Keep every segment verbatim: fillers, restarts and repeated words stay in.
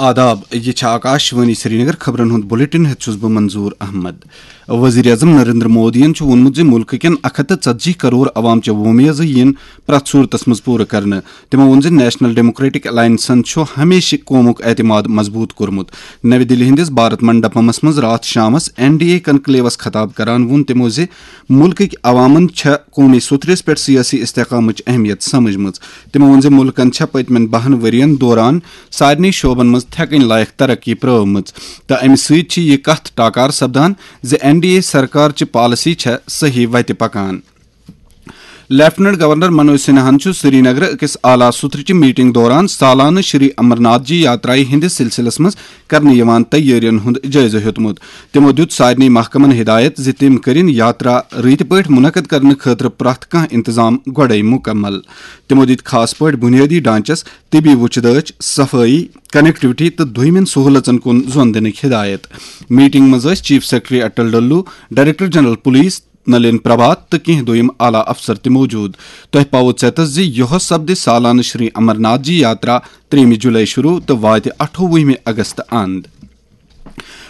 آداب، یہِ چھِ آکاش وانی سرینگر۔ خبرن ہُنٛد بلیٹن ہٮ۪تھ چھُس بہٕ منظور احمد۔ وزیر اعظم نریندر مودیَن چھُ ووٚنمُت زِ مُلکہٕ کٮ۪ن اکھ ہَتھ تہٕ ژتجی کرور عوام چہِ وۄمیزٕ یِن پرٛٮ۪تھ صوٗرتس منٛز پوٗرٕ کرنہٕ۔ تِمو ووٚن زِ نیشنل ڈیموکریٹک الائنسن چھُ ہمیشہِ قومُک اعتماد مضبوٗط کوٚرمُت۔ نَوِ دِلہِ ہٕنٛدِس بھارت منڈپمس منٛز راتھ شامس این ڈی اے کنکلیوس خطاب کران ووٚن تِمو زِ مُلکٕکۍ عوامن چھےٚ قومی سوٚتھرِس پٮ۪ٹھ سیٲسی استحکامٕچ اہمیت سمجھمٕژ۔ تِمو ووٚن زِ مُلکن چھےٚ پٔتمٮ۪ن بَہَن ؤرین دوران سارنٕے شعبن منٛز تھٮ۪کٕنۍ لایق ترقی پرٲومٕژ تہٕ امہِ سۭتۍ چھِ یہِ کتھ ٹاکار سپدان زِ این ڈی اے سرکار چہِ پالیسی چھےٚ صحیح وتہِ پکان۔ لیفٹیننٹ گورنر منوج سنہاہن چھُ سرینگرٕ أکِس اعلیٰ سطحٕچہِ میٹنگ دوران سالانہٕ شری امرناتھ جی یاترایہِ ہٕنٛدِس سلسلس منٛز کرنہٕ یِوان تیٲرین ہُنٛد جٲیزٕ ہیوٚتمُت۔ تِمو دِیُت سارنٕے محکمن ہدایت زِ تِم کٔرِن یاترا رٕتۍ پٲٹھۍ منعقد کرنہٕ خٲطرٕ پرٛٮ۪تھ کانٛہہ انتظام گۄڈَے مُکمل۔ تِمو دِتۍ خاص پٲٹھۍ بُنیٲدی ڈھانچس، طبی وُچھ دٲچھ، صفٲیی، کنیکٹیوٹی تہٕ دوٚیمٮ۪ن سہوٗلژن کُن زۄن دِنٕکۍ ہدایت۔ میٹنگ منٛز ٲسۍ chief secretary Atal Dulloo, director general police Nalin Prabhat تہٕ کینٛہہ دوٚیِم اعلیٰ افسر تہِ موجود۔ تۄہہِ پاوو ژیتس زِ یۄہس سپدِ سالانہٕ شری امرناتھ جی یاترا ترٛیٚیِمہِ جولائی شروع تہٕ واتہِ اَٹھووُہمہِ اگست اند۔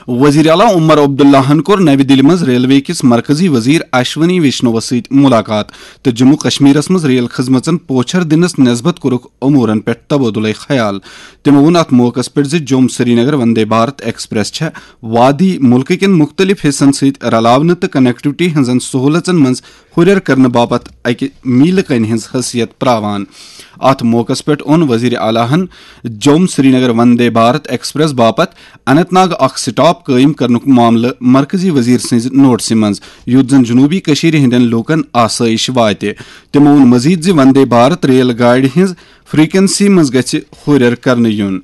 وزیر اعلیٰ عمر عبداللہن کوٚر نَوِ دِلہِ منٛز ریلوے کِس مرکزی وزیر اشونی ویشنوَس سۭتۍ مُلاقات تہٕ جموں کشمیرس منٛز ریل خدمژن پوچھر دِنس نسبت کوٚرُکھ امورن پٮ۪ٹھ تبادلہ خیال۔ تِمو ووٚن اتھ موقعس پٮ۪ٹھ زِ جوم سرینگر وندے بھارت ایکسپریس چھےٚ وادی مُلکہٕ کٮ۪ن مُختٔلِف حصن سۭتۍ رلاونہٕ تہٕ کنیکٹیوٹی ہٕنٛزن سہوٗلژن منٛز ہُرٮ۪ر کرنہٕ باپتھ اکہِ میٖلہٕ کنہِ ہٕنٛز حیثیت پراوان۔ اتھ موقعس پٮ۪ٹھ اوٚن وزیر اعلیٰ ہن جوم سرینگر وندے بھارت ایکسپریس باپتھ اننت ناگ اکھ سٹاپ قٲیِم کرنُک معاملہٕ مرکزی وزیر سٕنٛزِ نوٹسہِ منٛز، یُتھ زن جنوبی کٔشیٖرِ ہٕنٛدٮ۪ن لوٗکن آسٲیِش واتہِ۔ تِمو ووٚن مزید زِ وندے بھارت ریل گاڑِ ہٕنٛز فریکوئنسی منٛز گژھِ ہُرٮ۪ر کرنہٕ یُن۔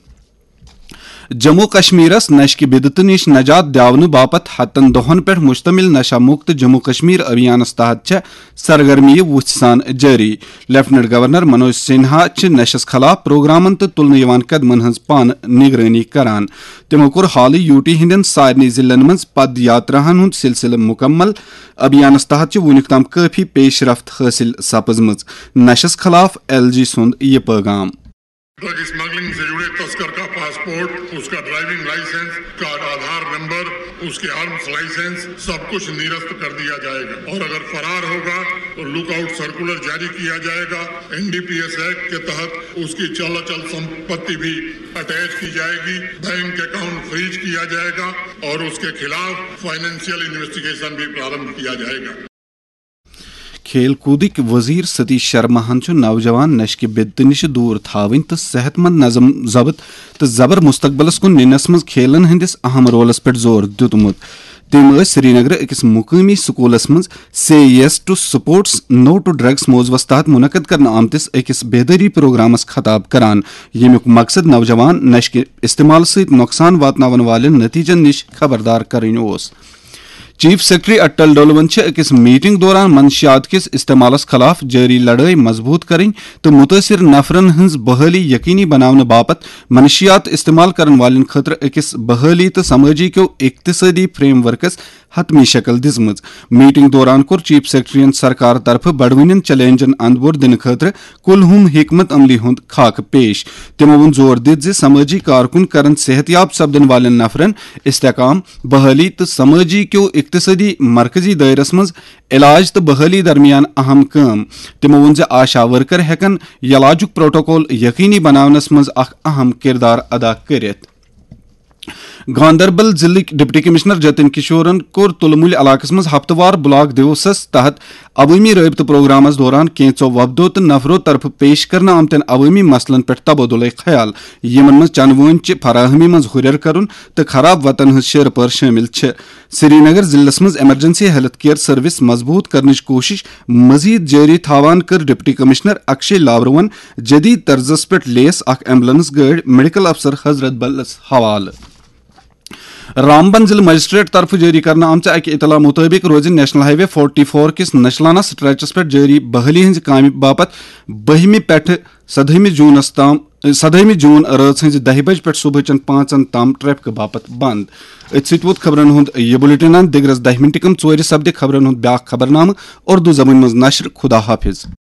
جموں کشمیرس نشہٕ کہِ بدعتہٕ نِش نجات دِیاونہٕ باپتھ ہتن دۄہن پٮ۪ٹھ مشتمل نشہ مکت جموں کشمیر ابھیانس تحت چھےٚ سرگرمیہِ وُژھِ سان جٲری۔ لیفٹیننٹ گورنر منوج سنہا چھِ نشس خلاف پروگرامن تہٕ تُلنہٕ یِوان قدمن ہٕنٛز پانہٕ نگرٲنی کران۔ تِمو کوٚر حالٕے یوٗ ٹی ہٕنٛدٮ۪ن سارنٕے ضلعن منٛز پد یاتراہن ہُنٛد سلسلہٕ مکمل۔ ابھیانس تحت چھِ وُنیُک تام کٲفی پیش رفت حٲصِل سپٕزمٕژ۔ نشس خلاف ایل جی سُنٛد یہِ پٲغام۔ ڈرگ اسمگلنگ سے جڑے تسکر کا پاسپورٹ، اس کا ڈرائیونگ لائسنس، اس کا آدھار نمبر، اس کے آرمز لائسنس، سب کچھ نرست کر دیا جائے گا اور اگر فرار ہوگا تو لک آؤٹ سرکولر جاری کیا جائے گا۔ N D P S act کے تحت اس کی چل اچل سمپتی بھی اٹیچ کی جائے گی، بینک اکاؤنٹ فریز کیا جائے گا اور اس کے خلاف فائنینشیل انویسٹیگیشن بھی پرارمبھ کیا جائے گا۔ کھیل کودٕکۍ وزیر ستیش شرماہن چھُ نوجوان نشہٕ کہِ بدعتہٕ نِش دوٗر تھاوٕنۍ تہٕ صحت مند نظم ضبط تہٕ زبر مستقبلس کُن نِنس منٛز کھیلن ہٕنٛدِس اہم رولس پٮ۪ٹھ زور دیُتمُت۔ تٔمۍ ٲسۍ سرینگرٕ أکِس مقٲمی سکوٗلس منٛز Say Yes to Sports, No to Drugs موضوعس تحت منعقد کرنہٕ آمتِس أکِس بیدٲری پروگرامس خطاب کران، ییٚمیُک مقصد نوجوان نشہٕ کہِ استعمال سۭتۍ نۄقصان واتناون والٮ۪ن نتیجن نِش خبردار کرٕنۍ اوس۔ چیف سیکرٹری اٹل ڈولون چھِ أکِس میٹنگ دوران منشیات کِس استعمالس خلاف جٲری لڑٲے مضبوٗط کرٕنۍ تہٕ مُتٲثِر نفرن ہٕنٛز بحٲلی یقینی بناونہٕ باپتھ منشیات استعمال کرن والٮ۪ن خٲطرٕ أکِس بحٲلی تہٕ سمٲجی کیو اقتصٲدی فریم ورکس حتمی شکل دِژمٕژ۔ میٹنگ دوران کوٚر چیف سیکرٹریَن سرکار طرفہٕ بڑوٕنٮ۪ن چیلنجن اندپور دِنہٕ خٲطرٕ کُلہُم حکمت عملی ہُنٛد خاکہٕ پیش۔ تِمو ووٚن زور دِتھ زِ سمٲجی کارکُن کرن صحت یاب سپدن والٮ۪ن نفرن استحکام، بحٲلی تہٕ سمٲجی کیو اقتصٲدی مرکزی دٲیرس منٛز علاج تہٕ بحٲلی درمیان اہم کٲم۔ تِمو ووٚن زِ آشا ورکر ہٮ۪کن علاجُک پروٹوکول یقینی بناونس منٛز اکھ اہم کردار ادا کٔرِتھ۔ گاندربل ضلعٕکۍ ڈپٹی کمشنر جتن کشورن کوٚر تُلمُلۍ علاقس منٛز ہفتہٕ وار بلاک دیوسس تحت عوٲمی رٲبطہٕ پروگرامس دوران کینٛژو وفدو تہٕ نفرو طرفہٕ پیش کرنہٕ آمتٮ۪ن عوٲمی مسلن پٮ۪ٹھ تبادلہ خیال، یِمن منٛز چنہٕ وٲنۍ چہِ فراہمی منٛز ہُرٮ۪ر کرُن تہٕ خراب وتن ہٕنٛز شیرٕ پٲر شٲمِل چھِ۔ سرینگر ضلعس منٛز ایمرجنسی ہیلتھ کیئر سروس مضبوٗط کرنٕچ کوٗشش مزید جٲری تھاوان کٔر ڈپٹی کمشنر اکشے لاورون جدید طرزس پٮ۪ٹھ لیس اکھ ایمبولینس گٲڑۍ میڈیکل افسر حضرت بلس حوالہٕ۔ رامبن ضلع مجسٹریٹ طرفہٕ جٲری کرنہٕ آمژِ اکہِ اطلاع مُطٲبِق روزِ نیشنل ہائی وے فورٹی فور کِس نشلانہ سٹریچس پٮ۪ٹھ جٲری بحالی ہٕنٛزِ کامہِ باپتھ بٔہمہِ پٮ۪ٹھٕ سدہٲیمہِ جوٗنس تام، سدہٲیمہِ جوٗن رٲژ ہٕنٛزِ دَہہِ بجہِ پٮ۪ٹھ صبحٕچن پانٛژن تام ٹریفکہٕ باپتھ بند۔ أتھۍ سۭتۍ ووت خبرن ہُنٛد یہِ بلیٹن اند۔ دِگرس دَہہِ مِنٹہِ کم ژورِ سپدِ خبرن ہُنٛد بیاکھ خبرنامہٕ اردو زبٲنۍ منٛز نشر۔ خدا حافظ۔